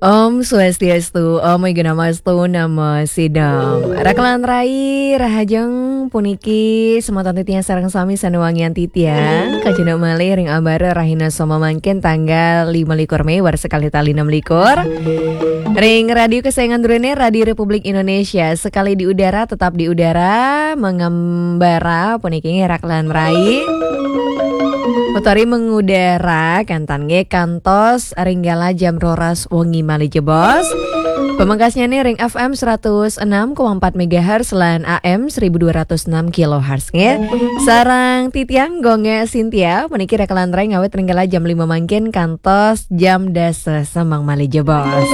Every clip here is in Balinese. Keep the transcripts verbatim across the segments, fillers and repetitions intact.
Om Swastiastu, Om Ignamastu Namo Sidam. Rakelan rai, rahajeng puniki semeton titiang sareng sami sané wangian titiang, kajana malih ring ambara rahina Soma mangkin tanggal lima likur Mei warsa kalih tali enam likur. Ring radio kesayangan druene, Radio Republik Indonesia, sekali di udara, tetap di udara, mengembara puniki nggih rakelan rai. Utawi mengudara kantan nggih kantos ring galah jam roras wengi malih jebos. Pamekasnyane ring F M seratus enam koma empat megahertz lan A M seribu dua ratus enam kilohertz nggih. Sareng titiang Gung Gek Sintia, puniki rakelan rai ngawit ring galah jam lima mangkin kantos jam dasa semeng malih jebos.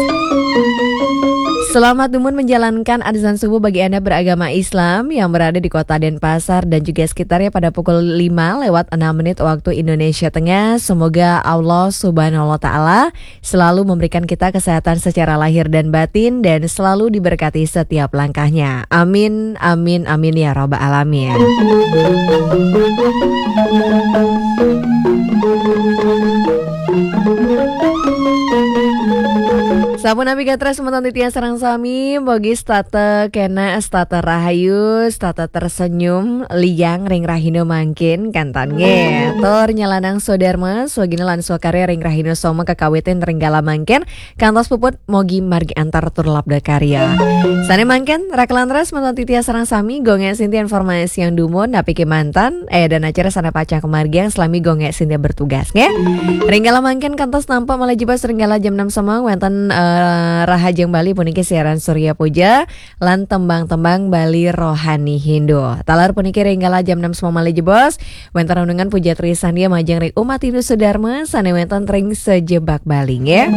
Selamat dumun menjalankan azan subuh bagi Anda beragama Islam yang berada di Kota Denpasar dan juga sekitarnya pada pukul lima lewat enam menit waktu Indonesia Tengah. Semoga Allah Subhanahu wa Ta'ala selalu memberikan kita kesehatan secara lahir dan batin dan selalu diberkati setiap langkahnya. Amin, amin, amin ya rabbal alamin. Sampun napi gatra semeton titiang sareng sami, mugi setata kena, setata rahayu, setata tersenyum, liang ring rahina mangkin, kantan nggih. Tur nyalanang swadarma, swagina lan swakarya ring rahina Soma kakawitin ring galah mangkin, kantos puput mugi margi antar tur labda karya. Sane mangkin, rakelan rai semeton titiang sareng sami, Gung Gek Sintia informasi yang dumun, napi kemanten, eh, dan acara sane pacang kamargiang, salami Gung Gek Sintia bertugas, nggih. Ring galah mangkin kantos nampak malih jebos ring galah jam enam semeng wenten, eh, Rahajeng Bali puniki siaran Surya Puja lan tembang-tembang Bali Rohani Hindu. Taler puniki ring galah jam enam semeng malih jebos wenten renungan puja trisandia majeng ring umat Hindu sedharma sane wenten ring sajebag Bali nggih.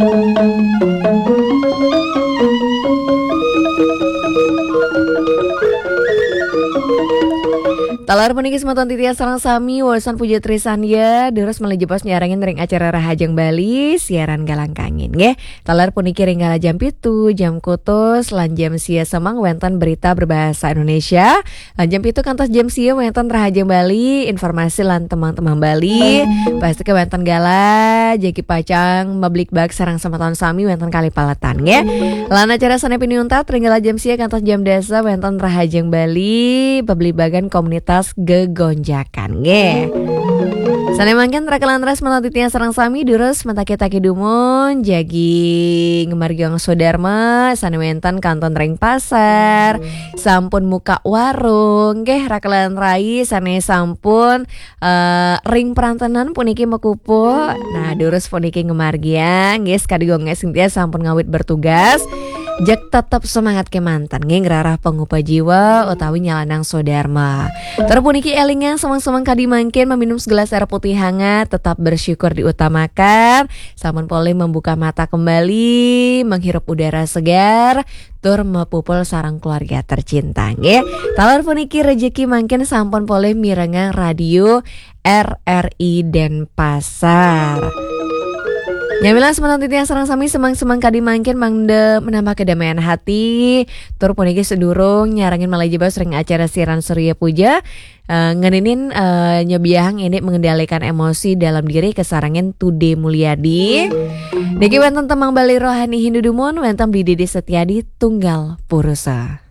Taler puniki semeton titiang sareng sami walusan puja trisandia durus malih jebos nyarengin ring acara Rahajeng Bali siaran galah kangin nggih. Taler puniki ring galah jam pitu, jam kutus, lan jam sia semeng wenten berita berbahasa Indonesia. Lan jam pitu kantos jam sia wenten Rahajeng Bali, informasi lan tembang-tembang Bali. Pasti ke wenten galah, jagi pacang mabligbagan sareng semeton sami wenten kalih paletan nggih. Lan acara sane pinih untat ring galah jam sia kantos jam dasa wenten Rahajeng Bali, pabligbagan komunitas gegonjakan nggih. Sane mangkin rakelan rai semeton titiang sareng sami durus mataki-taki dumun jagi ngamargiang swadarma sane wenten kantun ring pasar, sampun muka warung nggih rakelan rai sane sampun, eh, ring perantenan puniki makupu. Nah, durus puniki ngamargiang nggih, sakadi Gung Gek Sintia sampun ngawit bertugas. Jeg tetep semangat kemanten nggih ngrarah pangupa jiwa utawi nyalanang swadarma. Tur puniki elingang semeng-semeng kadi mangkin maminum segelas air putih hangat, tetap bersyukur diutamakan. Sampun polih membuka mata kembali, menghirup udara segar, tur mapupul sareng keluarga tercinta nggih. Taler puniki rejeki mangkin sampun polih mirengang radio R R I Denpasar. Nyamilang semeton titiang sareng sami semeng-semeng kadi mangkin mangda menambah kedamaian hati. Tur puniki sedurung nyarengin malih jebos ring acara siaran Surya Puja, eh, ngeninin, eh, nyebiahang ini mengendalikan emosi dalam diri kasarengin Tude Mulyadi. Niki wenten tembang Bali Rohani Hindu dumun wenten Bli Dede Setiadi Tunggal Purusa.